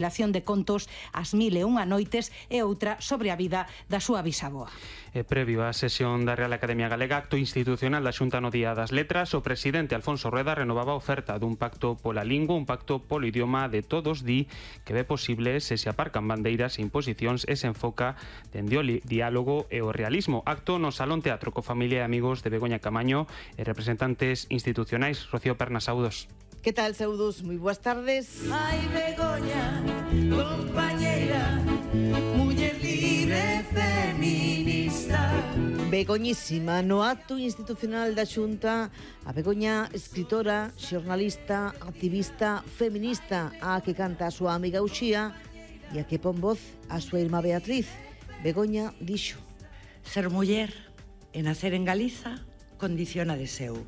Relación de contos As 1001 noites e outra sobre a vida da súa bisaboa. Previo á sesión da Real Academia Galega, acto institucional da Xunta no Día das Letras, o presidente Alfonso Rueda renovaba a oferta dun pacto pola lingua, un pacto polo idioma de todos, di que ve posible se aparcan bandeiras e imposicións e se enfoca dende o diálogo e o realismo. Acto no Salón Teatro co familia e amigos de Begoña Camaño e representantes institucionais. Rocío Pernas, saúdos. Que tal, saúdos? Moi boas tardes. Ai, Begoña, compañeira, muller libre feminista. Begoñísima, no acto institucional da Xunta, a Begoña, escritora, xornalista, activista, feminista, a que canta a súa amiga Uxía e a que pon voz a súa irmá Beatriz. Begoña dixo: ser muller e nacer en Galiza condiciona deseo.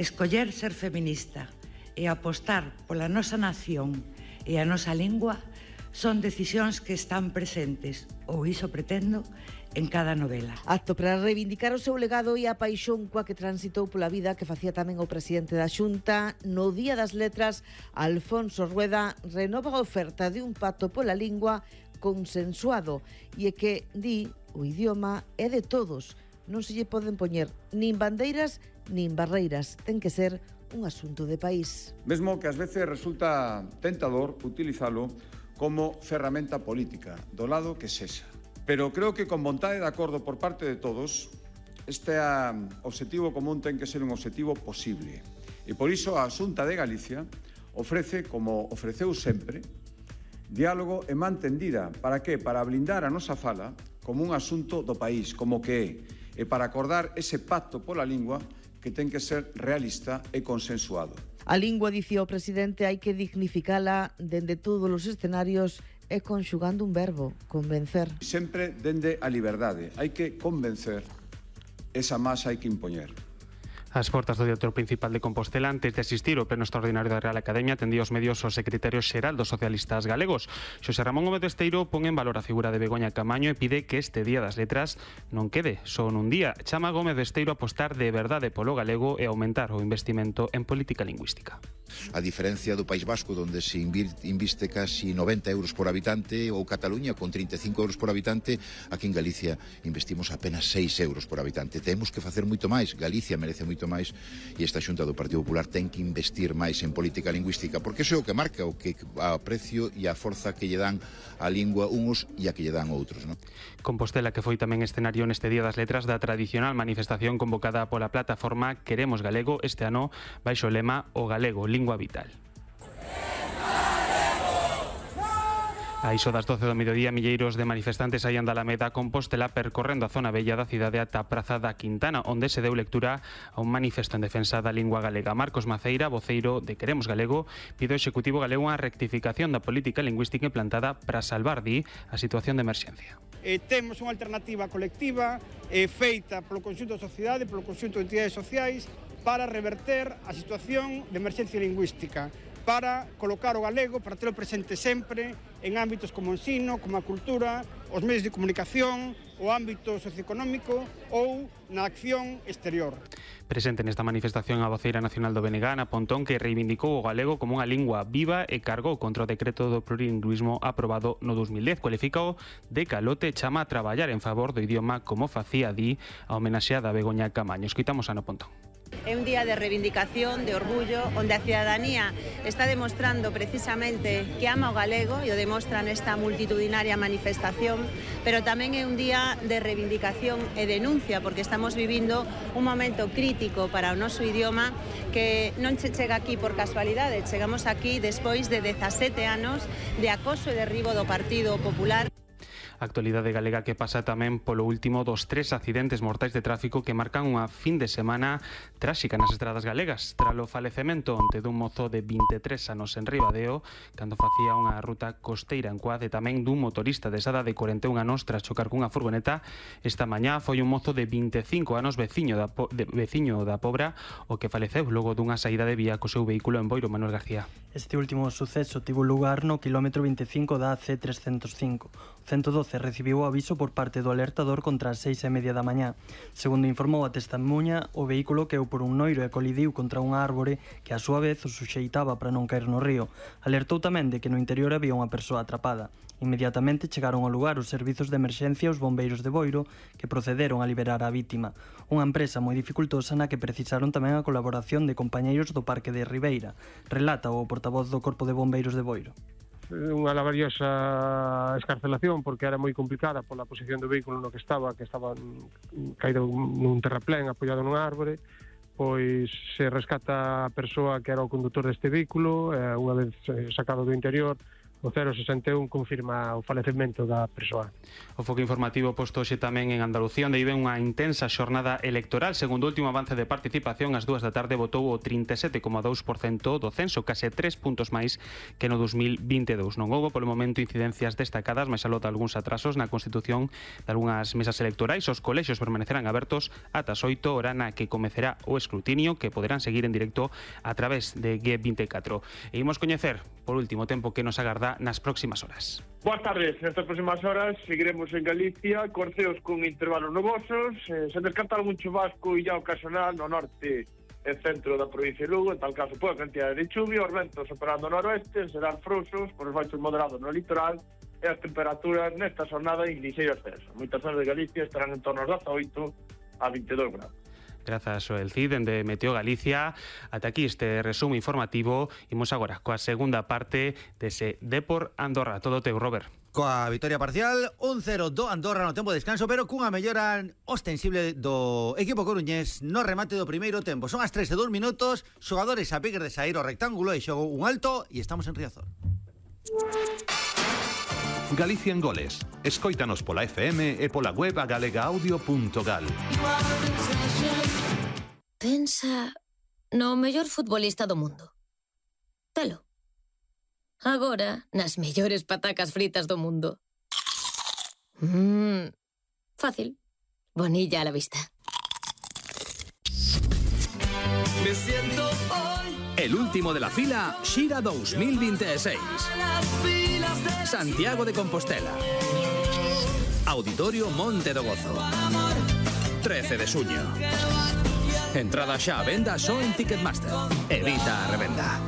Escoller ser feminista e apostar pola nosa nación e a nosa lingua son decisións que están presentes, ou iso pretendo, en cada novela. Acto para reivindicar o seu legado e a paixón coa que transitou pola vida que facía tamén o presidente da Xunta. No Día das Letras, Alfonso Rueda renova a oferta de un pacto pola lingua consensuado e que, di, o idioma é de todos. Non se lle poden poñer nin bandeiras nin barreiras. Ten que ser un asunto de país. Mesmo que ás veces resulta tentador utilizalo como ferramenta política, do lado que sexa. Pero creo que con vontade de acordo por parte de todos, este obxectivo común ten que ser un obxectivo posible. E por iso a Xunta de Galicia ofrece, como ofreceu sempre, diálogo e man tendida. Para que? Para blindar a nosa fala como un asunto do país, como que é, e para acordar ese pacto pola lingua que ten que ser realista e consensuado. A lingua, dicía o presidente, hai que dignificala dende todos os escenarios e conxugando un verbo, convencer. Sempre dende a liberdade, hai que convencer, esa masa hai que impoñer. As portas do Teatro Principal de Compostela, antes de asistir ao pleno extraordinario da Real Academia, atendía aos medios o secretario xeral dos socialistas galegos. Xosé Ramón Gómez Besteiro pon en valor a figura de Begoña Camaño e pide que este Día das Letras non quede só nun día. Chama Gómez Besteiro a apostar de verdade polo galego e aumentar o investimento en política lingüística. A diferencia do País Vasco, onde se inviste casi 90 euros por habitante, ou Cataluña con 35 euros por habitante, aquí en Galicia investimos apenas 6 euros por habitante. Temos que facer moito máis, Galicia merece moito máis, e esta Xunta do Partido Popular ten que investir máis en política lingüística, porque iso é o que marca o que a precio e a forza que lle dan a lingua uns e a que lle dan outros, non? Compostela, que foi tamén escenario neste Día das Letras da tradicional manifestación convocada pola plataforma Queremos Galego, este ano baixo o lema O Galego, Lingua Vital. A iso das 12 do mediodía, milleiros de manifestantes saían da Alameda Compostela percorrendo a zona bella da cidade ata a Praza da Quintana, onde se deu lectura a un manifesto en defensa da lingua galega. Marcos Maceira, voceiro de Queremos Galego, pide ao Executivo galego unha rectificación da política lingüística implantada para salvar, di, a situación de emerxencia. Temos unha alternativa colectiva feita polo conxunto da sociedade, polo conxunto de entidades sociais, para reverter a situación de emerxencia lingüística, para colocar o galego, para telo presente sempre en ámbitos como o ensino, como a cultura, os medios de comunicación, o ámbito socioeconómico ou na acción exterior. Presente nesta manifestación a voceira nacional do BNG, Ana Pontón, que reivindicou o galego como unha lingua viva e cargou contra o decreto do plurilingüismo aprobado no 2010. Cualificou de calote, chama a traballar en favor do idioma como facía, di, a homenaxeada Begoña Camaño. Escoitamos a Ana Pontón. É un día de reivindicación, de orgullo, onde a cidadanía está demostrando precisamente que ama o galego e o demostra nesta multitudinaria manifestación, pero tamén é un día de reivindicación e denuncia, porque estamos vivindo un momento crítico para o noso idioma que non se chega aquí por casualidade, chegamos aquí despois de 17 anos de acoso e derribo do Partido Popular. A actualidade galega que pasa tamén polo último dos 3 accidentes mortais de tráfico que marcan unha fin de semana tráxica nas estradas galegas. Tras o falecemento onte dun mozo de 23 anos en Ribadeo, cando facía unha ruta costeira en Coade, tamén dun motorista de Sada de 41 anos tras chocar cunha furgoneta, esta mañá foi un mozo de 25 anos veciño da Pobra o que faleceu logo dunha saída de vía co seu vehículo en Boiro. Manuel García. Este último suceso tivo lugar no quilómetro 25 da C305. 112 recibiu o aviso por parte do alertador contra as 6:30 da mañá. Segundo informou a testemunha, o vehículo queu por un noiro e colidiu contra unha árbore que a súa vez o suxeitaba para non caer no río. Alertou tamén de que no interior había unha persoa atrapada. Inmediatamente chegaron ao lugar os servizos de emerxencia e os bombeiros de Boiro, que procederon a liberar a vítima. Unha empresa moi dificultosa na que precisaron tamén a colaboración de compañeiros do Parque de Ribeira. Relata o portavoz do Corpo de Bombeiros de Boiro. Unha laboriosa escarcelación porque era moi complicada pola posición do vehículo no que estaba caído nun terraplén apoiado nunha árbore. Pois se rescata a persoa que era o condutor deste vehículo, unha vez sacado do interior, o 061 confirma o falecemento da persoa. O foco informativo posto hoxe tamén en Andalucía, onde vive unha intensa xornada electoral. Segundo o último avance de participación, ás 2 da tarde votou o 37,2% do censo, case 3 puntos máis que no 2022. Non houbo polo momento incidencias destacadas, máis aló de algúns atrasos na constitución de algunhas mesas electorais. Os colexios permanecerán abertos ata as 8, hora na que comezará o escrutinio, que poderán seguir en directo a través de G24. E imos coñecer, por último tempo, que nos agarda nas próximas horas. Boas tardes. Nestas próximas horas seguiremos en Galicia con ceos con intervalos nubosos, sen descartar algún chubasco e ya ocasional no norte e centro da provincia de Lugo. En tal caso, pola cantidade de chuvia, os ventos operando no noroeste serán frouxos por os baixos moderados no litoral e as temperaturas nesta xornada en lixeiro ascenso. Moitas zonas de Galicia estarán en torno aos 18 a 22 grados. Grazas ao Cid, dende Meteo Galicia. Ata aquí este resumo informativo. Imos agora coa segunda parte dese Depor Andorra. Todo teu, Robert. Coa vitoria parcial, 1-0 do Andorra no tempo de descanso, pero cunha mellora ostensible do equipo coruñés no remate do primeiro tempo. Son as 3:02 minutos, xogadores a piques de saír ao rectángulo e xogo un alto e estamos en Riazor. Galicia en goles. Escóitanos pola FM e pola web galegaaudio.gal. Pensa no mellor futbolista do mundo. Telo. Agora, nas mellores patacas fritas do mundo. Fácil. Bonilla a la vista. Me siento hoy. El último de la fila, Xira 2026. Santiago de Compostela. Auditorio Monte do Gozo. 13 de xuño. Entrada xa a venda só en Ticketmaster. Evita a revenda.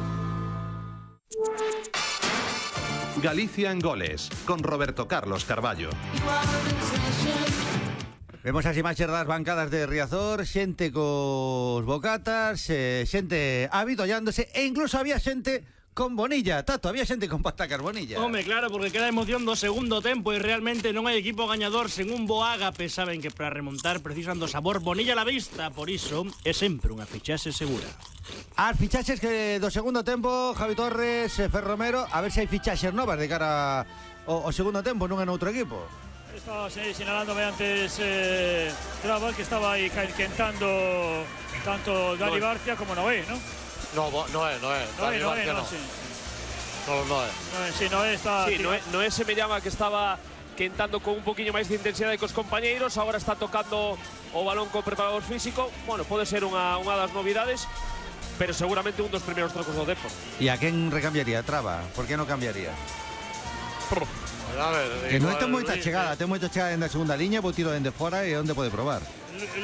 Galicia en goles, con Roberto Carlos Carballo. Vemos as imaxes das bancadas de Riazor, xente cos bocatas, xente avitollándose e incluso había xente con Bonilla. Tato, había xente con patacas Bonilla. Home, claro, porque queda emoción do segundo tempo e realmente non hai equipo gañador sen un bo ágape. Saben que para remontar precisan do sabor Bonilla a la vista, por iso é sempre unha fichaxe segura. As fichaxes que do segundo tempo, Javi Torres, Fer Romero, a ver se hai fichaxes novas de cara ao segundo tempo, non en outro equipo. Estaba sinalándome antes Traba, que estaba aí quentando tanto Dani Barcia como Noé, ¿no? No es. Dani Barcia no. Sí. Noé. Sí, Noé está... Sí, Noé se me llama que estaba quentando con un poquinho máis de intensidade cos compañeiros, agora está tocando o balón co preparador físico. Bueno, pode ser unha das novidades, pero seguramente un dos primeiros trocos do Depor. E a quen recambiaría? Traba? Por que non cambiaría? A ver, que non ten moita chegada, ten moita chegada en a segunda liña, vou tiro dende fora e onde pode probar.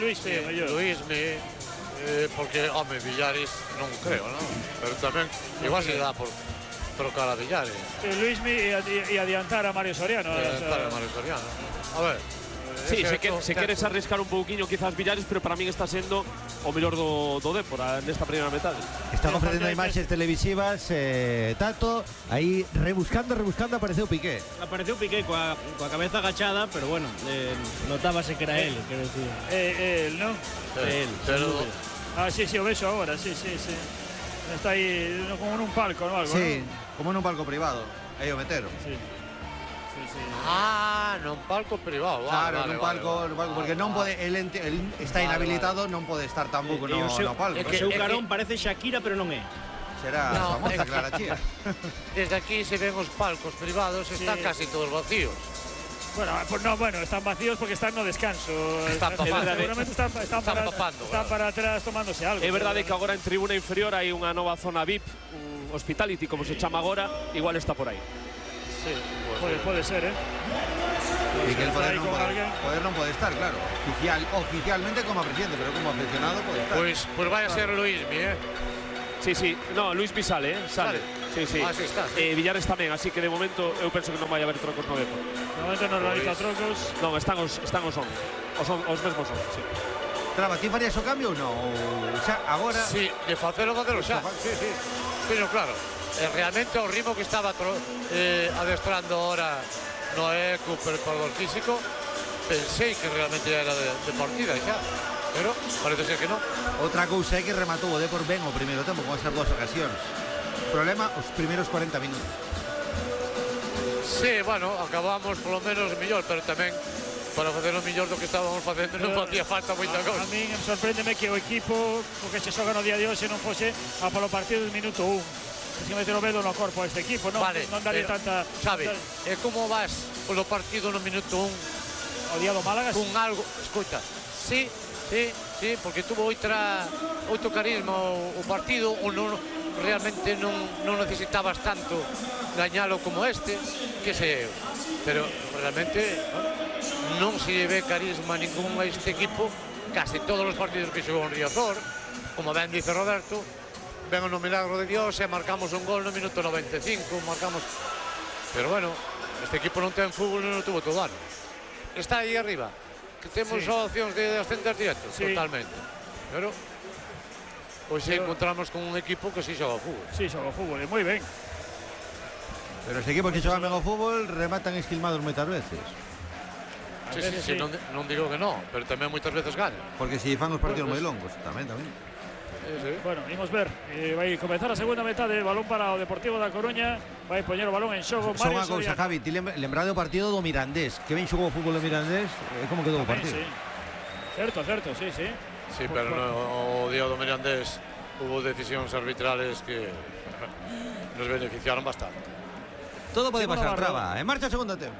Luismi, porque, home, Villares non creo, non? Pero tamén, igual se dá por trocar a Villares. Luismi e adiantar a Mario Soriano. A ver. Sí, se queres arriscar un pouquiño quizás Villares, pero para min está sendo o mellor do Depor nesta primeira metade. Están ofrecendo imaxes televisivas, Tato, aí rebuscando apareceu Piqué. Apareceu Piqué coa cabeza agachada, pero bueno, notábase que era él, quero decir. Él, ¿no? Él. Sí, o vexo agora, sí. Está aí como nun palco, ¿no? Sí, como nun palco privado, aí o metero. Sí. nun palco privado. Claro, nun palco, porque non pode, el está inhabilitado, non pode estar tampouco no palco. O seu carón parece Shakira, pero non é. Será a famosa Clara Chía. Desde aquí se ven os palcos privados, están casi todos vacíos. Bueno, están vacíos porque están no descanso. Están papando. Seguramente están para atrás tomándose algo. É verdade que agora en tribuna inferior hai unha nova zona VIP, un hospitality, como se chama agora, igual está por aí. Sí, bueno. puede ser, Y que el poder non pode estar, claro. Oficialmente como presidente, pero como aficionado pode estar. Pues vai a ser Luismi, Sí. No, Luismi sale, sale. Sí. Ah, sí está. Villares tamén, así que de momento eu penso que non vai haber trocos no Depor. De momento non realiza trocos. Non, están os 11. Os mesmos 11, sí. Traba, ti farías o cambio ou non? Ou xa, agora... Sí, de facelo xa. Sí. Pero claro, realmente o ritmo que estaba adestrando ahora Noé co preparador físico, pensei que realmente era de partida xa, pero parece ser que non. Outra cousa é que rematou o Depor ben o primeiro tempo con esas dúas ocasións. Problema, os primeiros 40 minutos. Sí, bueno, acabamos polo menos mellor, pero tamén para facer o mellor do que estábamos facendo non facía falta moita cousa. A min sorpréndeme que o equipo co que se xoga no día de hoxe non fose a polo partido do minuto 1. Se meter o dedo no corpo a este equipo, non dalle tanta... Sabe, como vas polo partido no minuto o1? día do Málaga? Con algo, escoita, sí, porque tuvo outro carisma o partido, ou realmente non necesitabas tanto gañalo como este, que sei eu. Pero realmente non se lle ve carisma ningún a este equipo, case todos os partidos que xogou en Riazor, como ben dice Roberto, ven no milagro de Dios e marcamos un gol no minuto 95, pero bueno, este equipo non ten fútbol e non tuvo todo ano. Está aí arriba, que temos opcións de ascender directo, totalmente, pero hoxe encontramos con un equipo que sí xoga fútbol. Sí, xoga fútbol, e moi ben. Pero os equipos que xogan ben o fútbol rematan esquilmados moitas veces. Sí, non digo que non, pero tamén moitas veces ganan. Porque si fan os partidos moi longos, tamén. Bueno, imos ver, vai comenzar a segunda metade, balón para o Deportivo da Coruña, vai poñer o balón en xogo Mario Soriano. Só unha cousa, Javi, ti lembrade o partido do Mirandés, que ben xogou o fútbol do Mirandés, como quedou o partido? Certo, sí. Sí, pero o día do Mirandés hubo decisións arbitrales que nos beneficiaron bastante. Todo pode pasar, Traba, en marcha segundo tempo.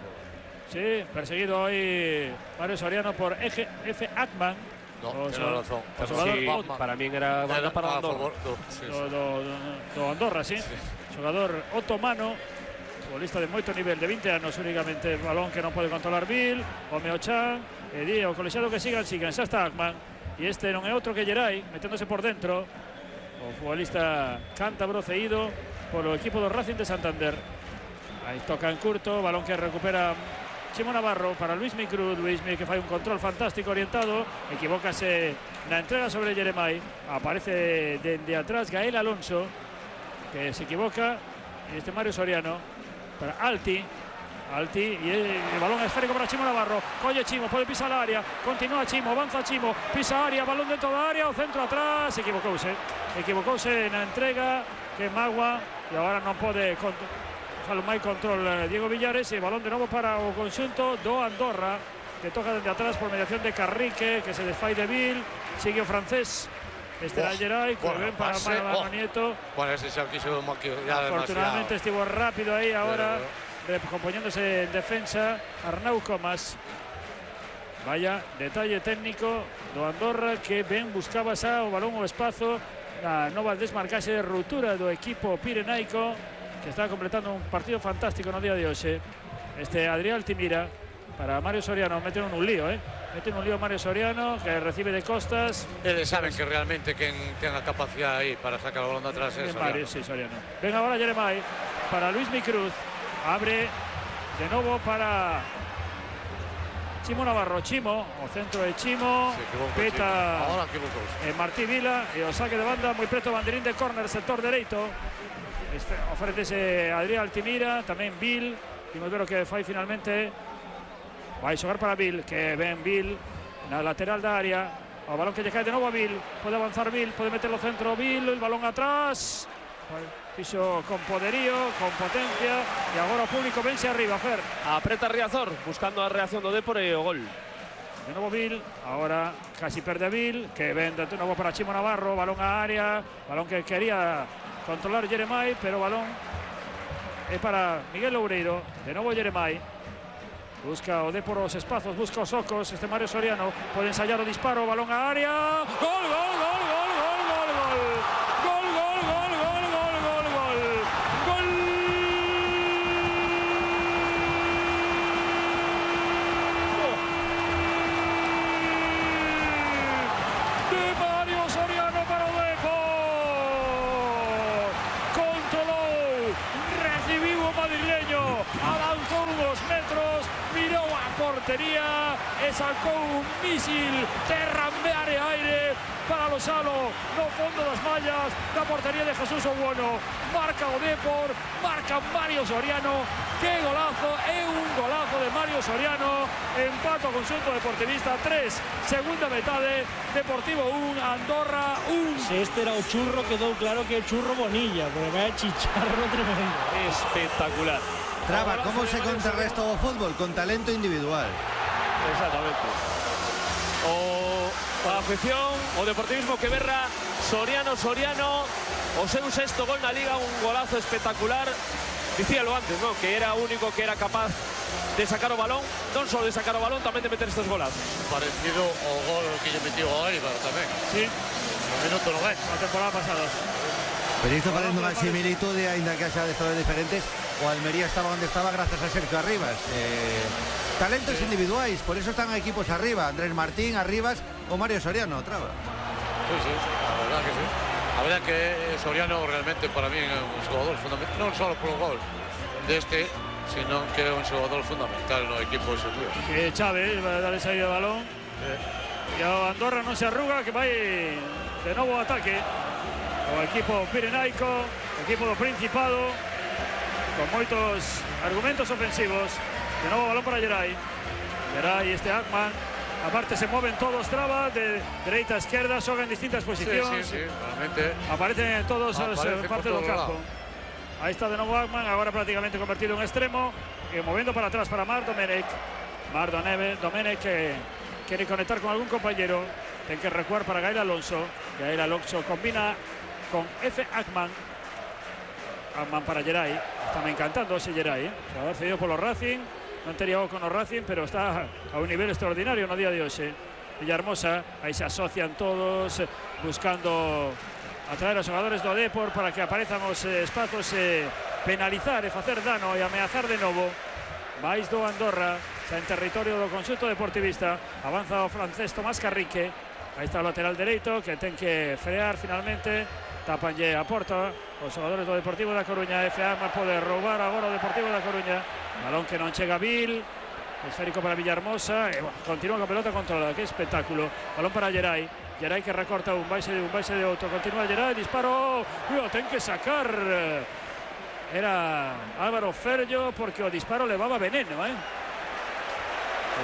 Sí, perseguido hoy Mario Soriano por F. Atman. No, tiene razón. Para mí era banda para Andorra. Do Andorra, sí. Xogador otomano, futbolista de moito nivel, de 20 anos únicamente, balón que non pode controlar Bill, o Meochan, e di o colexiado que sigan, xa está Akman, e este non é outro que Geray, meténdose por dentro, o futbolista cántabro ceído polo equipo do Racing de Santander. Aí toca en curto, balón que recupera Chimo Navarro para Luismi Cruz. Luismi que fai un control fantástico orientado, equivócase na entrega sobre Jeremai, aparece dende atrás Gael Alonso, que se equivoca, e este Mario Soriano para Alti, e el balón esférico para Chimo Navarro, colle Chimo, pode pisar a área, continúa Chimo, avanza Chimo, pisa a área, balón dentro da área, o centro atrás, equivocouse na entrega, que Magua, e agora non pode falo máis control Diego Villares, e balón de novo para o conxunto do Andorra, que toca dende atrás por mediación de Carrique, que se desfai de Vil, sigue o francés, este era Geray, que ven para Mano Nieto. Bueno, ese xa quiso maquillar demasiado. Afortunadamente estivo rápido aí agora, recompoñéndose en defensa Arnau Comas. Vaya detalle técnico do Andorra, que ben buscaba xa o balón o espazo na nova desmarcaxe de ruptura do equipo pirenaico, que está completando un partido fantástico no día de hoxe. Este Adrián Altimira para Mario Soriano, meten un lío, meten un lío Mario Soriano, que recibe de costas. Eles saben que realmente quen ten a capacidade aí para sacar o balón de atrás é Soriano. Mario, sí, Soriano. Ven agora Jeremai para Luismi Cruz, abre de novo para Chimo Navarro. Chimo, o centro de Chimo, peta Martí Vila, e o saque de banda moi preto, banderín de córner, sector dereito. Ofrécese Adrián Altimira, tamén Bill, imos ver o que fai finalmente. Vai xogar para Bill, que ven Bill na lateral da área, o balón que lle cae de novo a Bill, pode avanzar Bill, pode meterlo centro Bill, el balón atrás, fixo con poderío, con potencia, e agora o público vense arriba, Fer. Apreta Riazor, buscando a reacción do Depor e o gol. De novo Bill, agora casi perde Bill, que ven de novo para Chimo Navarro, balón a área, balón que quería controlar Jeremai, pero balón é para Miguel Loureiro. De novo Jeremai, busca o Depor os espazos, busca os ocos, este Mario Soriano pode ensayar o disparo, balón a área, gol, gol, gol, gol, gol, gol, gol, gol, gol, gol, gol, gol, gol, gol, gol. portería e sacou un mísil terra aire para Losalo no fondo das mallas da portería de Jesús Obuono. Marca o Depor, marca Mario Soriano. Que golazo, é un golazo de Mario Soriano. Empato o conxunto deportivista 3, segunda metade, Deportivo 1, Andorra 1. Se este era o churro, quedou claro que é churro Bonilla, porque vai a chicharro tremendo. Espectacular. Traba, ¿cómo se contrarresta o fútbol? Con talento individual. Exactamente. A afección, o deportivismo que berra Soriano, o seu sexto gol na Liga, un golazo espectacular. Dicíalo antes, ¿no? Que era o único que era capaz de sacar o balón, non só de sacar o balón, tamén de meter estes golazos. Parecido ao gol que lle metió a Eibar tamén. Sí. No minuto 90. Na temporada pasada. Pero isto parece unha similitude, ainda que xa de estados diferentes. O Almería estaba onde estaba gracias a Sergio Arribas. Talentos individuais, por eso están equipos arriba. Andrés Martín, Arribas o Mario Soriano, Traba. Sí, la verdad que sí. La verdad que Soriano realmente para mí é un xogador fundamental, non só polo gol deste, sino que é un xogador fundamental no equipo de Xavi. Que Chávez vai darle saída de balón. E o Andorra non se arruga, que vai de novo ao ataque. O equipo pirenaico, o equipo do Principado, con moitos argumentos ofensivos. De novo balón para Geray. Geray, Akman. Aparte se mueven todos, Traba, de dereita a izquierda, xogan en distintas posicións. Sí, realmente. Aparecen todos as partes do campo. Ahí está de novo Akman, agora prácticamente convertido en extremo, movendo para atrás para Marc Domenech. Domenech que quiere conectar con algún compañero, ten que recuar para Gael Alonso. Gael Alonso combina con F. Akman. Akman para Geray. Está me encantando ese Geray, xogador cedido polo Racing. Non tería o con o Racing, pero está a un nivel extraordinario no día de hoxe. Villahermosa, aí se asocian todos, buscando atraer aos xogadores do Depor para que aparezan os espazos e penalizar e facer dano e ameazar de novo. Mais do Andorra, xa en territorio do conxunto deportivista. Avanza o francés Tomás Carrique. Aí está o lateral dereito que ten que frear finalmente. Tapanlle a porta os xogadores do Deportivo da Coruña. F.A. pode roubar agora o Deportivo da Coruña. Balón que non chega Vil. Esférico para Villahermosa. Continúa con pelota controlada. Que espectáculo. Balón para Geray. Geray que recorta un baixe de outro. Continúa Geray. Disparo. Ten que sacar. Era Álvaro Ferllo porque o disparo levaba veneno, O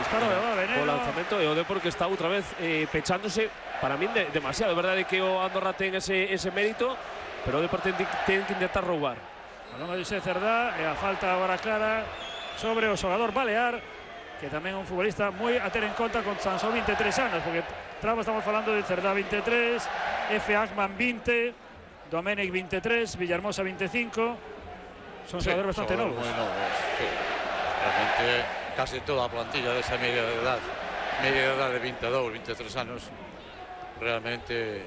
disparo levaba veneno. O lanzamento e o Depor que está outra vez pechándose. Para min demasiado. É verdade que o Andorra ten ese mérito, pero o Depor ten que intentar roubar. Balón de José Cerdá e a falta agora clara sobre o xogador Balear, que tamén é un futbolista moi a ter en conta con tan só 23 anos, porque Traba estamos falando de Cerdá 23, F. Akman 20, Domenech 23, Villahermosa 25. Son xogadores bastante novos. Moi novos, sí. Realmente casi toda a plantilla desa media de edad de 22, 23 anos, realmente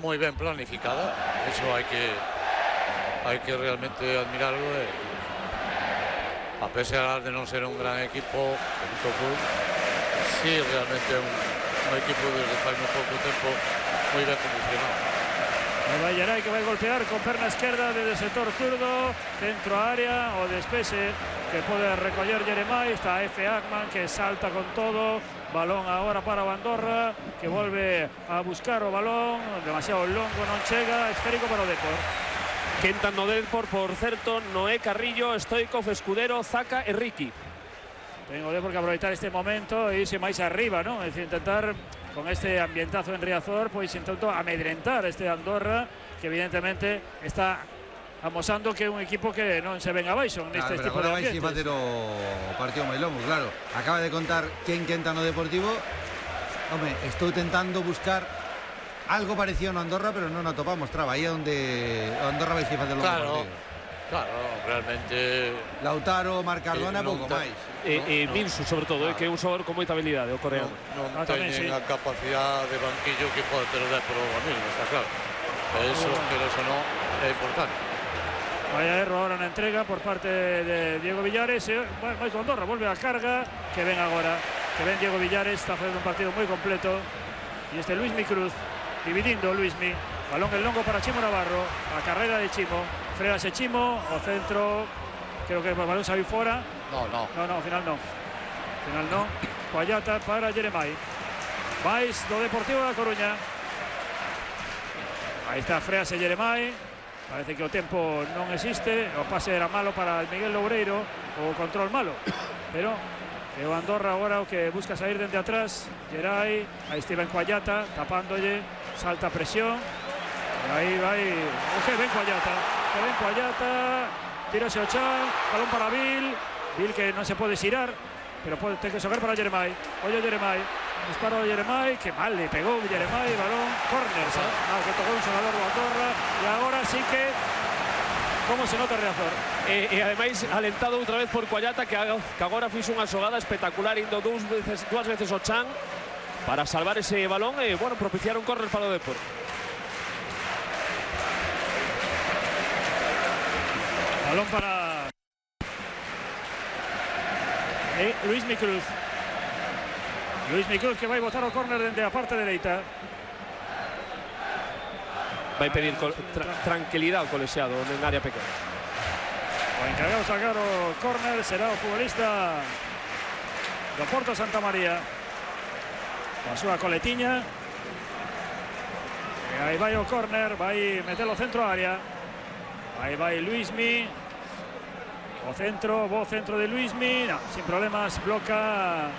moi ben planificada. Eso hai que realmente admirarlo. A pesar de non ser un gran equipo, sí, realmente é un equipo desde fai moi pouco tempo moi ben condicionado. Vai Geray que vai golpear con perna esquerda desde o sector zurdo, centro a área, o despese que pode recoller Jeremai. Está F. Akman que salta con todo. Balón agora para o Andorra, que volve a buscar o balón, demasiado longo, non chega, esférico para o Depor. Quentan no Depor, por certo, Noé Carrillo, Stoikov, Escudero, Zaca e Ricky. Ten o Depor que aproveitar este momento e irse máis arriba, non? É dicir, intentar, con este ambientazo en Riazor, pois intento amedrentar este Andorra, que evidentemente está amosando que é un equipo que non se ven abaixo neste tipo de ambientes. Agora vai facer o partido moi longo, claro. Acaba de contar quen quenta no Deportivo. Home, estou tentando buscar algo parecido no Andorra, pero non atopamos. Traba, aí é onde o Andorra vai facer longo partido. Claro, realmente Lautaro, Marc Cardona, pouco máis. E Minsu, sobre todo, que é un xogador con moita habilidade, o coreano. Non teñen a capacidade de banquillo que pode ter o Depor o mismo, está claro. Eso, pero eso non é importante. Vaya erro ahora na entrega por parte de Diego Villares. Mais do Andorra, volve a carga. Que ven agora, que ven Diego Villares. Está facendo un partido moi completo. E este Luismi Cruz, dividindo Luismi. Balón en longo para Chimo Navarro. A carrera de Chimo. Fréase Chimo, o centro. Creo que o balón saiu fora. No, ao final non. final non. Coallata para Jeremai. Mais do Deportivo da Coruña. Aí está, frease Jeremai. Parece que o tempo non existe. O pase era malo para Miguel Loureiro. O control malo. Pero é o Andorra agora o que busca sair dende atrás. Gerai, aí Steven Coallata tapándolle, salta a presión. E aí vai o que ven Coallata. Tírase o Chan, balón para Bill que non se pode xirar, pero ten que xogar para Jeremai. Ollo Jeremai, disparo de Jeremai, que mal le pegou Jeremai, balón, córner, que tocou un xogador do Andorra, e agora sí que como se nota Riazor. E ademais alentado outra vez por Coallata, que agora fixo unha xogada espectacular, indo dúas veces o Chan para salvar ese balón e, bueno, propiciar un córner para o Depor. Balón para Luis Micruz. Luis Micruz que vai botar o córner dende a parte dereita. Vai pedir tranquilidade ao colexiado en área pequena. O encargado de sacar o córner será o futbolista do Porto Santa María. A súa coletiña. E aí vai o córner, vai meter o centro a área. Aí vai Luismi. O centro, bo centro de Luismi. No, sin problemas, bloca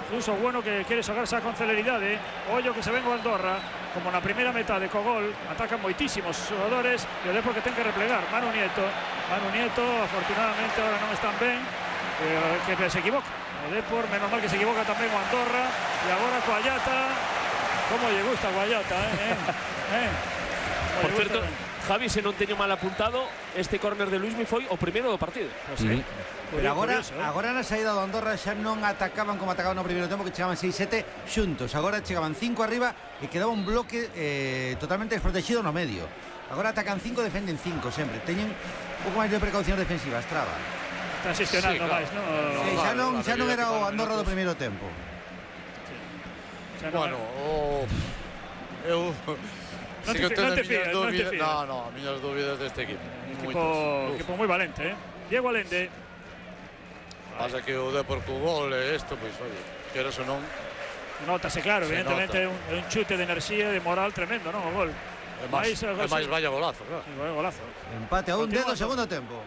Uso bueno que quiere xogarse con celeridade. Ollo que se ven o Andorra. Como na primeira metade co gol. Atacan moitísimos xogadores. E o Depor que ten que replegar. Manu Nieto, afortunadamente ahora non están ben. Que se equivoca. O Depor, menos mal que se equivoca tamén o Andorra. E agora Coallata. Como lle gusta Coallata, Por certo, Javi, se non teño mal apuntado, este córner de Luismi foi o primeiro do partido. Pero agora na saída do Andorra xa non atacaban como atacaban no primeiro tempo, que chegaban 6-7 xuntos. Agora chegaban 5 arriba e quedaba un bloque totalmente desprotegido no medio. Agora atacan 5, defenden 5 sempre. Teñen un pouco máis de precaución defensivas, traba. Están xestionando máis, non? Xa non era o Andorra do primeiro tempo. Bueno, eu... Non te fías. No, miñas dúbidas deste equipo. Equipo moi valente, Diego Allende. Pasa que o Depor co gol e isto, pois, oye, queres ou non. Notase, claro, evidentemente é un chute de enerxía e de moral tremendo, non? O gol. É máis vaya golazo, claro. Sí, golazo. Empate a un dedo, segundo tempo.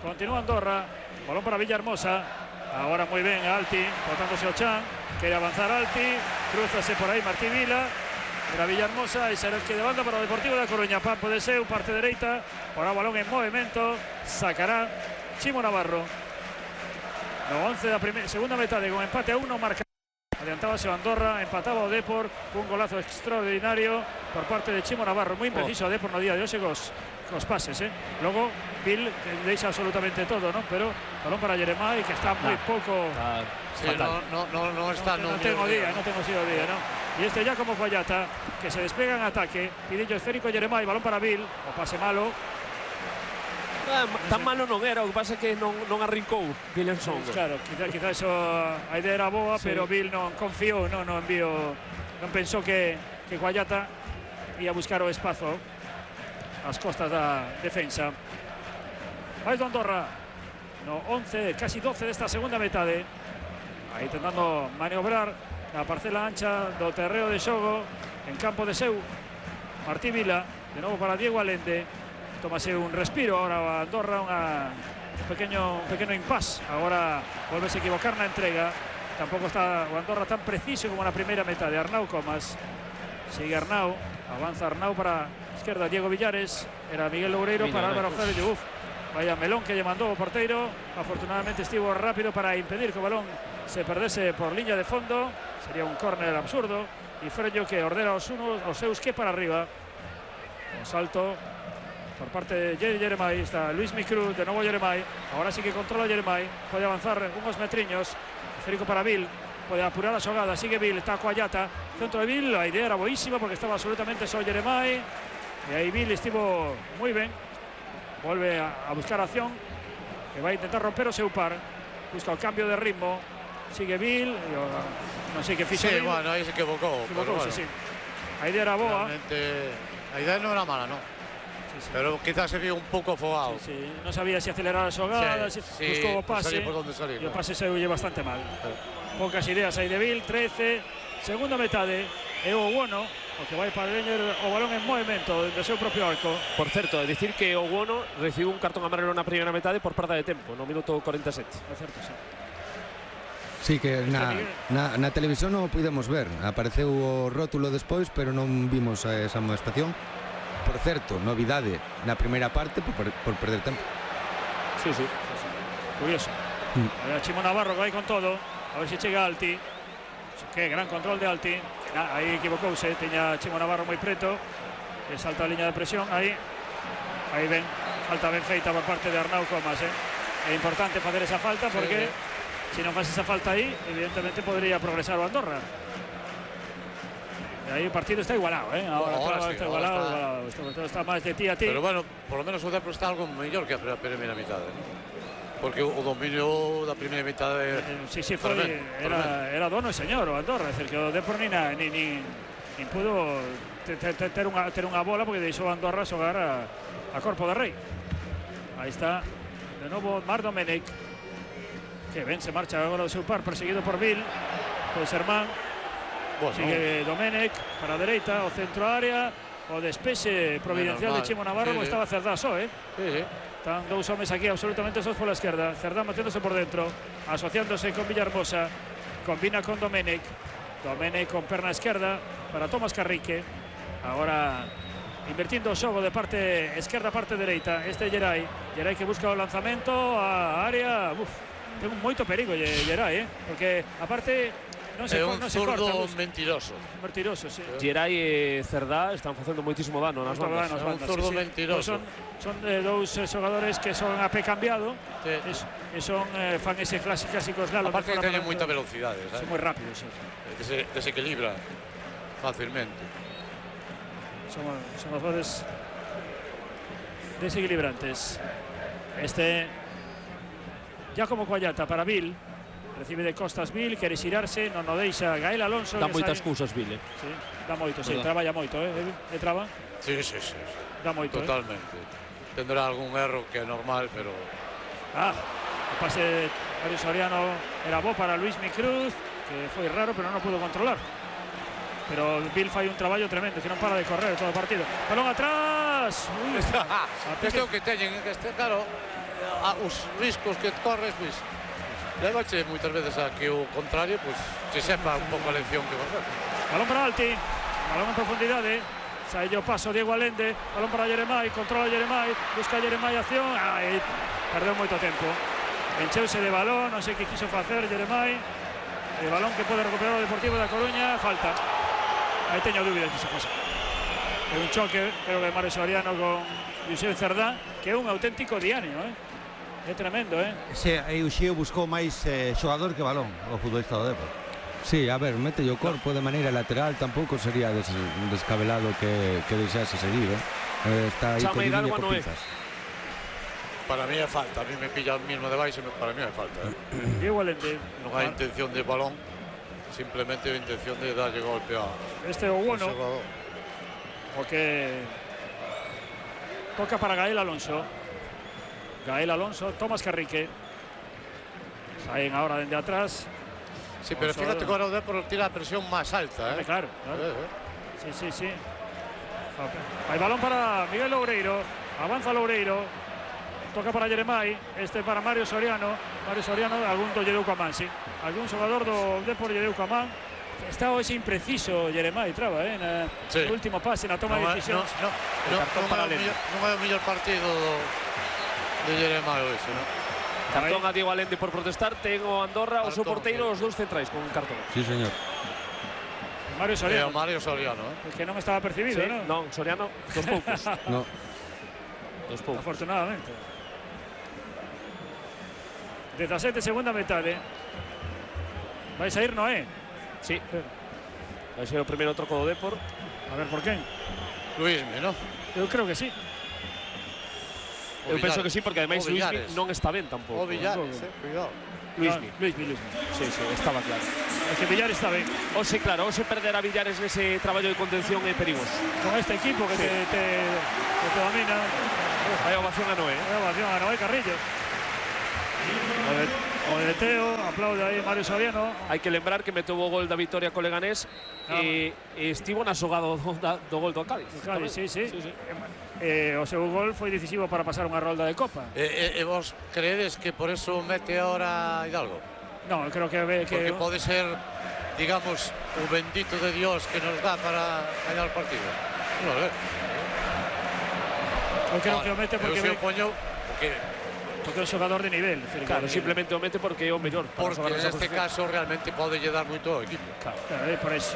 Continúa Andorra, balón para Villahermosa. Agora moi ben Alti, botándose o Chan. Quere avanzar Alti, cruzase por aí Martí Vila. Para Villahermosa e será que de banda para o Deportivo da Coruña. Pampo de Seu, parte dereita. Ahora balón en movimento. Sacará Chimo Navarro. No 11 da segunda metade con empate a 1 marca. Adiantábase o Andorra, empataba o Depor cun golazo extraordinario por parte de Chimo Navarro. Moi impreciso o Depor no día de hoxe cos pases, Logo Bill que deixa absolutamente todo, non? Pero balón para Jeremai que está moi pouco. Sí, no está. Non tengo día, non? Y este ya como Coallata, que se despega en ataque. Pidillo esférico Jeremai, balón para Bill. O pase malo. Tan malo non era, o que pasa é que non arrincou Bill en son. Claro, quizá eso, a idea era boa, pero Bill non confiou, non pensou que Coallata ia buscar o espazo ás costas da defensa. Vai do Andorra no 11, casi 12 desta segunda metade. Aí tentando maniobrar na parcela ancha do terreo de xogo en campo de Seu. Martí Vila, de novo para Diego Allende. Tómase un respiro ahora a Andorra, un pequeño impasse. Agora volvese a equivocar na entrega. Tampouco está o Andorra tan preciso como na primeira metade. Arnau Comas, sigue Arnau, avanza Arnau para a izquierda Diego Villares. Era Miguel Loureiro para Álvaro Félix. Vaya melón que lle mandou o porteiro. Afortunadamente estivo rápido para impedir que o balón se perdese por liña de fondo. Sería un córner absurdo. E Frello que ordena os seus que para arriba. O salto por parte de Jeremai. Está Luis Micruz, de novo Jeremai. Ahora sí que controla Jeremai. Pode avanzar unos metriños. Esférico para Bill. Pode apurar a xogada. Sigue Bill, está Coallata. Centro de Bill. A idea era boísima porque estaba absolutamente só Jeremai. E aí Bill estivo moi ben. Vuelve a buscar acción. Que vai intentar romper o seu par. Busca o cambio de ritmo. Sigue Bill. Non sei que fixo Bill. Bueno, aí se equivocou. Sí. A idea era boa. Realmente, a idea non era mala, non? Sí, Pero quizás se vio un pouco afogado. Non sabía se acelerar a xogada, buscou o pase. Por onde salir, E o pase saiulle bastante mal. Poucas ideas aí de Bill, 13, segunda metade, e o Owono, o que vai para Leñer o balón en movimento do seu propio arco. Por certo, é dicir que o Owono recibiu un cartón amarelo na primeira metade por perda de tempo, no minuto 47. É certo, sí. Sí, que na televisión non o pudemos ver. Apareceu o rótulo despois, pero non vimos esa amonestación. Por certo, novidade na primeira parte por perder tempo. Sí. Curioso. A Chimo Navarro que vai con todo. A ver se chega Alti. Que gran control de Alti. Aí equivocouse. Teña Chimo Navarro moi preto. E salta a liña de presión. Aí ven. Falta ben feita por parte de Arnau Comas. É importante facer esa falta porque se non faz esa falta aí, evidentemente podría progresar o Andorra. E aí o partido está igualado, Ahora está igualado. Está máis de ti a ti. Pero bueno, por lo menos o Depor está algo mellor que a primeira mitade. Porque o dominio da primeira mitade era dono e señor o Andorra, é dicir que o Depor nin pudo ter unha bola porque deixou Andorra xogar a corpo de rei. Aí está de novo Marc Domenech, que ben se marcha agora do seu par, perseguido por Bill, por Sermán. Sigue Domenech para a dereita, o centro área, o despexe providencial de Chimo Navarro, como estaba Cerdá só, Están dous homes aquí absolutamente sós pola esquerda. Cerdá meténdose por dentro, asociándose con Villahermosa, combina con Domenech con perna esquerda para Tomás Carrique. Agora invertindo o xogo de parte esquerda, parte dereita. Este Gerai que busca o lanzamento a área. Ten moito perigo Gerai, porque aparte non se corta. É un zurdo mentiroso. Mentiroso, sí. Gerai e Cerdá están facendo moitísimo dano nas bandas. É un zurdo mentiroso. Son dous xogadores que son a pé cambiado e son fan ese clásicos slalom. Aparte que teñen moita velocidade, son moi rápidos. Desequilibra facilmente. Son os goles desequilibrantes. Giacomo Coallata para Bill. Recibe de costas Bill, quere xirarse, non o deixa Gael Alonso. Dá moitas cousas Bill, Sí, dá moito, traballa moito, E traba? Sí. Dá moito, totalmente. Tendrá algún erro que é normal, pero... O pase de Mario Soriano era bo para Luis Micruz, que foi raro, pero non o pudo controlar. Pero Bill fai un traballo tremendo, que non para de correr todo o partido. Balón atrás! Este é o que teñen, claro, os riscos que corres, pois... Levache moitas veces a que o contrario se sepa un pouco a lección que facer. Balón para Alti, balón en profundidade. Sai o paso Diego Allende, balón para Jeremai, controla Jeremai, busca Jeremai acción. Perdeu moito tempo. Encheuse de balón, non sei que quiso facer Jeremai. El balón que pode recuperar o Deportivo da Coruña, falta. Aí teño dúbidas que se pasa. É un choque, creo que Mario Soriano con Josep Cerdá, que é un auténtico diario, É tremendo, Aí o Xío buscou máis xogador que balón, o futbolista do Depor. Sí, a ver, mete o corpo de maneira lateral, tampouco sería descabelado que deixase seguir, Está aí por línea por pinzas. Para mí é falta, a mí me pilla mismo de baixo, para mí é falta. Diego Allende. Non hai intención de balón, simplemente a intención de darlle golpe a... Este é o bueno, o que toca para Gael Alonso. Tomás Carrique. Saen ahora dende atrás. Sí, pero fíjate que ahora o Depor tira a presión máis alta, Claro. Sí. Hay balón para Miguel Loureiro. Avanza Loureiro. Toca para Jeremai. Para Mario Soriano. Algún do lle deu coa man, sí. Algún xogador do Depor lle deu coa man. Está hoxe impreciso Jeremai, traba, no último pase, na toma de decisións. Non é o mellor partido de Jeremai hoxe, Cartón a Diego Allende por protestar. Ten o Andorra o seu porteiro, os dous centrais con cartón. Sí, señor. Mario Soriano, que non estaba percibido, non, Soriano, dos poucos. Dos poucos. Afortunadamente. 17, segunda metade. Vai sair Noé. Sí. Vai ser o primeiro troco do Depor. A ver por quen. Luismi, non? Eu creo que sí. Eu penso que sí, porque ademais Luismi non está ben tampouco. O Villares, cuidado. Luismi. Sí, estaba claro. É que Villares está ben. Ose, claro, ose perder a Villares nese traballo de contención é perigoso. Con este equipo que te domina. Vai ovación a Noé. Vai ovación a Noé Carrillo. O de Teo, aplaude aí Mario Soriano. Hai que lembrar que meteu o gol da vitoria co Leganés e estivo na xogada do gol do Cádiz. Sí. O seu gol foi decisivo para pasar unha rolda de Copa. E vos creedes que por eso mete ahora Hidalgo? No, creo que porque pode ser, digamos, o bendito de Dios que nos dá para gañar o partido. Non, eu creo que o mete porque porque é un xogador de nivel. Claro, simplemente o mete porque é o mellor. Porque neste caso realmente pode lle dar moito ao equipo. Claro, por eso.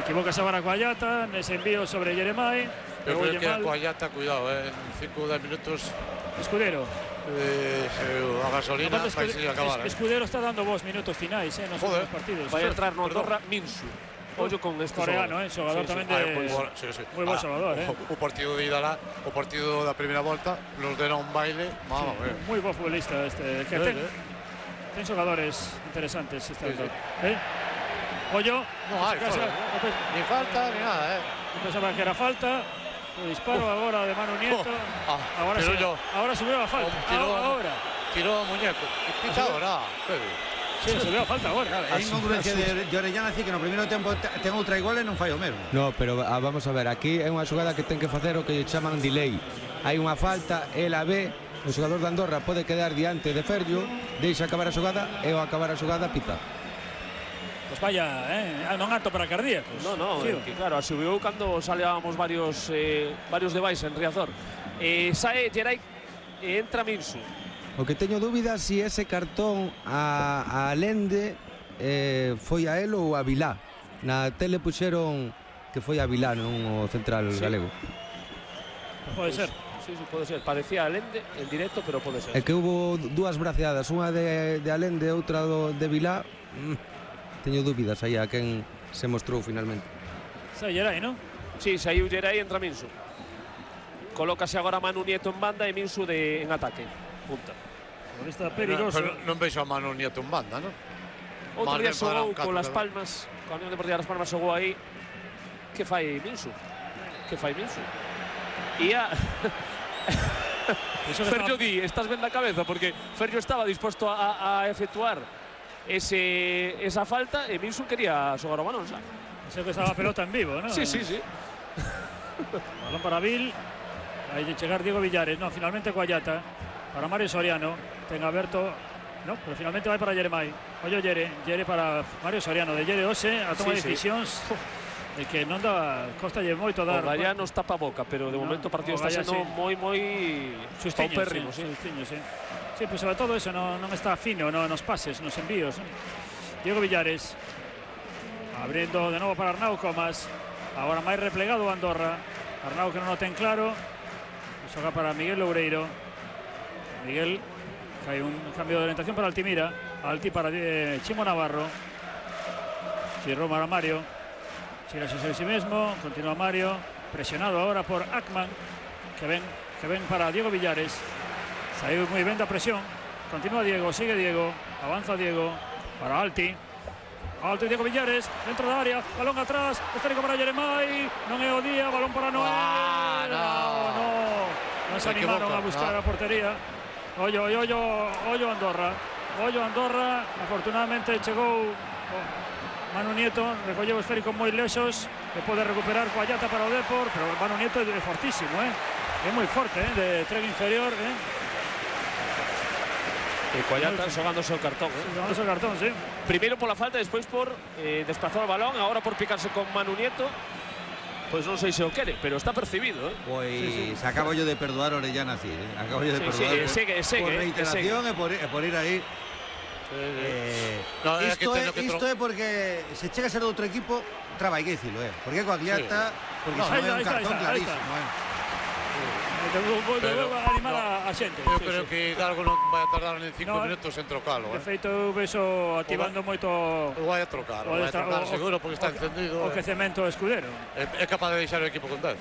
Equivocase agora Coallata nese envío sobre Jeremai. Eu creo que a Coallata, cuidado, en 5 ou 10 minutos. Escudero. A gasolina vai se acabar. Escudero está dando vos minutos finais nos últimos partidos. Vai entrar no Andorra Minsu. Ollo con este coreano, xogador tamén de moi bo xogador, O partido de ida lá, o partido da primeira volta, nos deron un baile, moi bo futbolista este, que ten xogadores interesantes este Andorra. Ollo, non hai, ni falta ni nada, pensaba que era falta. O disparo agora de Manu Nieto. Ahora subiu a falta. Tirou o muñeco. Pitadora. Sí, subiu a falta agora. É incongruencia de Orellana así que no primeiro tempo ten outra igual e non fai o mesmo. No, pero vamos a ver, aquí é unha xogada que ten que facer o que chaman delay. Hai unha falta, ela ve, o xogador de Andorra pode quedar diante de Ferllo, deixa acabar a xogada e ao acabar a xogada pita. Pues vaya, non apto para cardíacos. No, que claro, subiu cando salábamos varios debais en Riazor. Sae Geray e entra Minsu. O que teño dúbidas se ese cartón a Lende foi a él ou a Vilá. Na tele puxeron que foi a Vilá, non o central galego. Pode ser. Sí, pode ser. Parecía a Lende en directo, pero pode ser. É que hubo dúas braceadas, unha de Alende e outra de Vilá. Teño dúbidas aí a quen se mostrou finalmente. Sai Geray, non? Sí, saiu Geray e entra Minsu. Colócase agora Manu Nieto en banda e Minsu en ataque. Punta. Está perigoso. Non vexo a Manu Nieto en banda, non? Outro día xogou con Las Palmas, con a Unión Deportiva Las Palmas xogou aí. Que fai Minsu? Ferllo di, estás ben da cabeza, porque Ferllo estaba disposto a efectuar esa falta e Minsu quería xogar o balón, xa. Sei que estaba a pelota en vivo, non? Sí. Balón para Vil. Aí de chegar Diego Villares, no, finalmente Coallata. Para Mario Soriano, ten aberto, no, pero finalmente vai para Jeremai. Ollo Jere para Mario Soriano, de Jere Ose, a toma de decisións de que non dá, costalle moito dar. O Gallá nos tapa a boca, pero de momento o partido está sendo moi paupérrimo. Sí, pues sobre todo eso, non está fino nos pases, nos envíos. Diego Villares, abriendo de novo para Arnau Comas, agora máis replegado Andorra. Arnau que non o ten claro, xoga para Miguel Loureiro. Miguel, que hai un cambio de orientación para Altimira. Alti para Chimo Navarro. Giró para Mario. Sigue a sí mismo. Continúa Mario. Presionado ahora por Ackman. Que ven para Diego Villares. Saiu moi ben da presión. Continúa Diego. Sigue Diego. Avanza Diego. Para Alti. Alti Diego Villares. Dentro da área. Balón atrás. Esférico para Jeremai. Non é o día. Balón para Noé. Non se animaron a buscar a portería. Ollo Andorra. Afortunadamente chegou Manu Nieto, recolleu o esférico moi lexos e pode recuperar Coallata para o Depor, pero Manu Nieto é fortísimo, é moi forte, de tren inferior. E Coallata xogándose o cartón. Xogándose o cartón, sí. Primeiro pola falta, despois por desplazar o balón, agora por picarse con Manu Nieto. Pois non sei se o quere, pero está percibido. Pois acabo yo de perdoar Orellana así, acabo yo de perdoar por reiteración e por ir aí. Isto é porque se chega a ser de outro equipo, traba, hai que dicilo, porque Coagliata, porque non é un cartón clarísimo. Volvo a animar a xente. Eu creo que Hidalgo non vai a tardar nin 5 minutos en trocalo. De feito, eu vexo activando moito... Vai a trocar seguro, porque está encendido. O quecemento Escudero. É capaz de deixar o equipo con 10.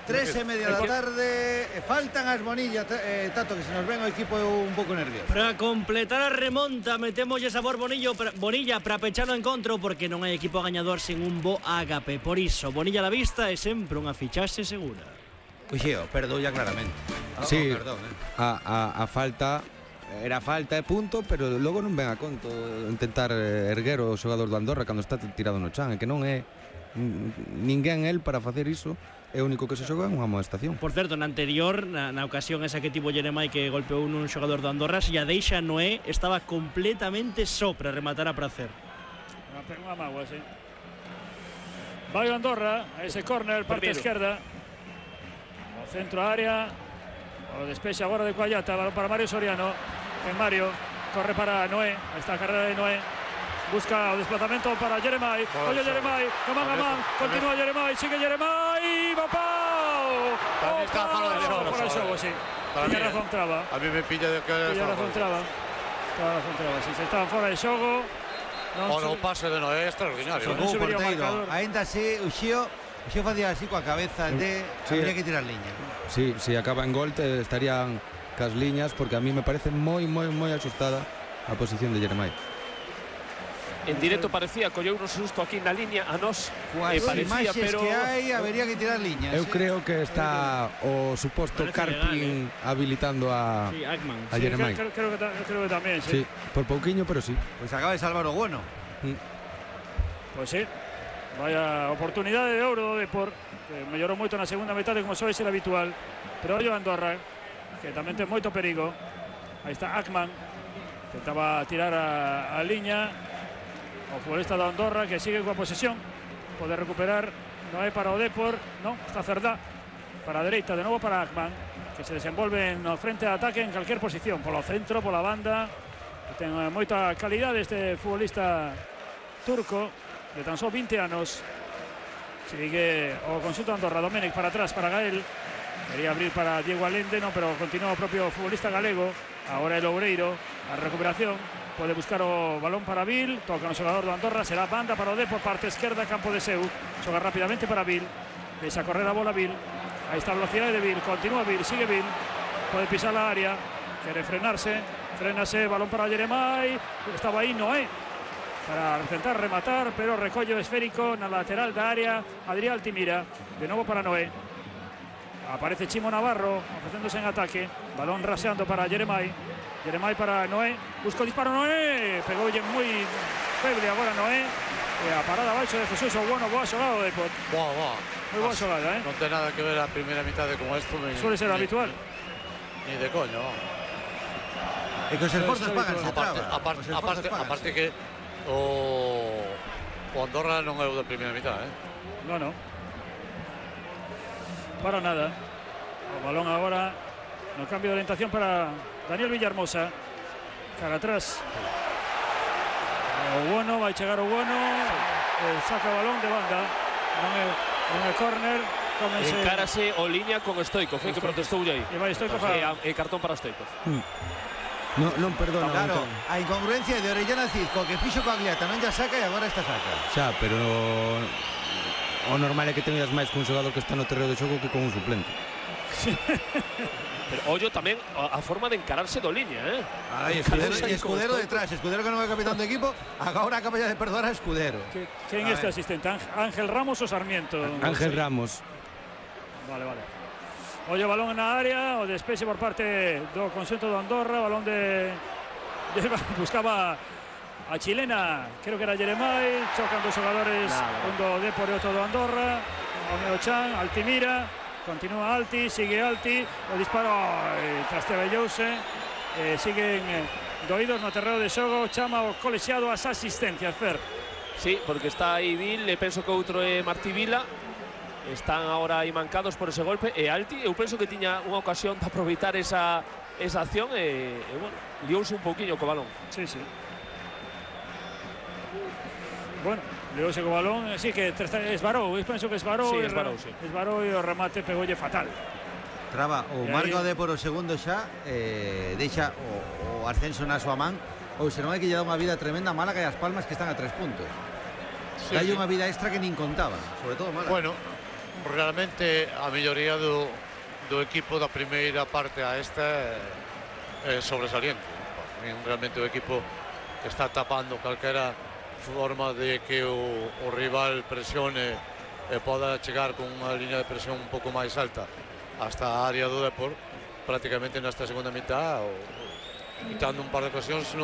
3:30 da tarde. Faltan as Bonilla, Tato, que se nos ven o equipo un pouco nervioso. Para completar a remonta, metemoslle sabor Bonilla para pechar o encontro, porque non hai equipo gañador sin un bo ágape. Por iso, Bonilla a la vista é sempre unha fichaxe segura. Uxeo, perdoulla claramente. Sí, perdón, a falta era falta e punto, pero logo non ven a conto intentar erguer o xogador do Andorra cando está tirado no chan, que non é ninguén el para facer iso. É o único que se xoga en unha amonestación. Por certo, na anterior, na ocasión esa que tivo Jeremai que golpeou nun xogador do Andorra, se a deixa Noé estaba completamente só para rematar a prazer. Unha mágoa, sí. Vai o Andorra, a ese córner, parte esquerda. O centro área. O despexe agora de Coallata, balón para Mario Soriano. En Mario, corre para Noé. Esta carrera de Noé. Busca o desplazamento para Jeremai. Oye Jeremai, no man a man. Continúa Jeremai, sigue Jeremai. ¡Papau! Para mí está fora de xogo. Fora de xogo, sí. Tiña razón Traba. A mí me pilla de que... Tiña razón Traba. Sí, se estaban fora de xogo. O no pase de Noé é extraordinario. Non subiría o marcador. Ainda así, o Xio facía así coa cabeza de... Habría que tirar liña. Sí, se acaba en gol estarían cas liñas, porque a mí me parece moi axustada a posición de Jeremai. En directo parecía colleu un susto aquí na liña a nós, parecía, pero que hai, habería que tirar liñas. Eu creo que está o suposto Carpin habilitando a Jeremai. Creo que tamén, sí. Por pouquiño, pero sí. Pues acaba de salvar o bueno. Pues sí. Vaya oportunidade de ouro do Depor, que mellorou moito na segunda metade, como soe ser habitual. Pero ollo Andorra, que tamén ten moito perigo. Aí está Ackman, tentaba tirar a liña. O futbolista de Andorra que sigue coa posesión. Pode recuperar. Noé para o Depor. Non, está Cerdá. Para a dereita, de novo para Ackman, que se desenvolve no frente de ataque en calquer posición. Polo centro, pola banda. Ten moita calidade este futbolista turco, de tan só 20 anos. Sigue o conxunto Andorra. Domènech para atrás, para Gael. Quería abrir para Diego Allende, no, pero continúa o propio futbolista galego. Agora el Oureiro. A recuperación. Pode buscar o balón para Vil. Toca no xogador do Andorra. Será banda para o Depor, parte esquerda, campo de Seu. Xoga rápidamente para Vil. Deixa correr a bola Vil. Aí está a velocidade de Vil. Continúa Vil, sigue Vil. Pode pisar a área. Quere frenarse. Frenase, balón para Jeremai. Estaba aí Noé para intentar rematar, pero recollo esférico na lateral da área. Adrián Altimira. De novo para Noé. Aparece Chimo Navarro ofrecéndose en ataque. Balón raseando para Jeremai. Jeremai para Noé, busca o disparo Noé, pegoulle moi feble agora Noé, e a parada abaixo de Jesús o bueno, boa xogada de Depor. Moi boa xogada, Non ten nada que ver a primeira mitade como esto. Suele ser habitual. Ni de coño. E que os esforzos pagan, se traba. Aparte que o Andorra non é o da primeira mitade, Non. Para nada. O balón agora no cambio de orientación para Daniel Villahermosa. Cara atrás. O bueno, vai chegar o bueno. Saca o balón de banda. Non é córner. Encárase o liña con Stoikov, que protestou aí. E vai Stoikov e cartón para Stoikov. Non perdona. Claro, a incongruencia de Orellana Cisco, que fixo Coagliata, non ya saca e agora esta saca. Xa, pero o normal é que teñas máis cun xogador que está no terreo de xogo que con un suplente. Pero ollo tamén a forma de encararse do liña, Escudero detrás, Escudero que non é capitán do equipo, agora acaba de perdoar a Escudero. Quen é este asistente? Ángel Ramos ou Sarmiento? Ángel Ramos. Vale. Ollo balón na área, o despexe por parte do conxunto do Andorra, balón de buscaba a chilena, creo que era Jeremai, chocan dos xogadores, un do Depor e outro do Andorra, Omeo Chan, Altimira. Continúa Alti, sigue Alti, o disparo trastebellouse, siguen doídos no terreo de xogo, chama o colexiado as asistencias, Fer. Sí, porque está aí Vil, e penso que outro é Martí Vila, están agora aí mancados por ese golpe, e Alti, eu penso que tiña unha ocasión de aproveitar esa acción, e bueno, liouse un pouquiño co balón. Sí. Bueno, leouse co balón, sí que esvarou, penso que esvarou. Sí, esvarou, sí. Esvarou e o remate pegoulle fatal. Traba, o marca de por o segundo xa, deixa o ascenso na súa man, ou se non é que lle dá unha vida tremenda a Málaga e as Palmas que están a 3 puntos. Hai unha vida extra que nin contaba, sobre todo Málaga. Bueno, realmente a melloría do equipo da primeira parte a esta é sobresaliente. Realmente o equipo está tapando calquera forma de que o rival presione e poda chegar con unha línea de presión un pouco máis alta hasta a área do Depor, prácticamente nesta segunda mitad, quitando un par de ocasións, non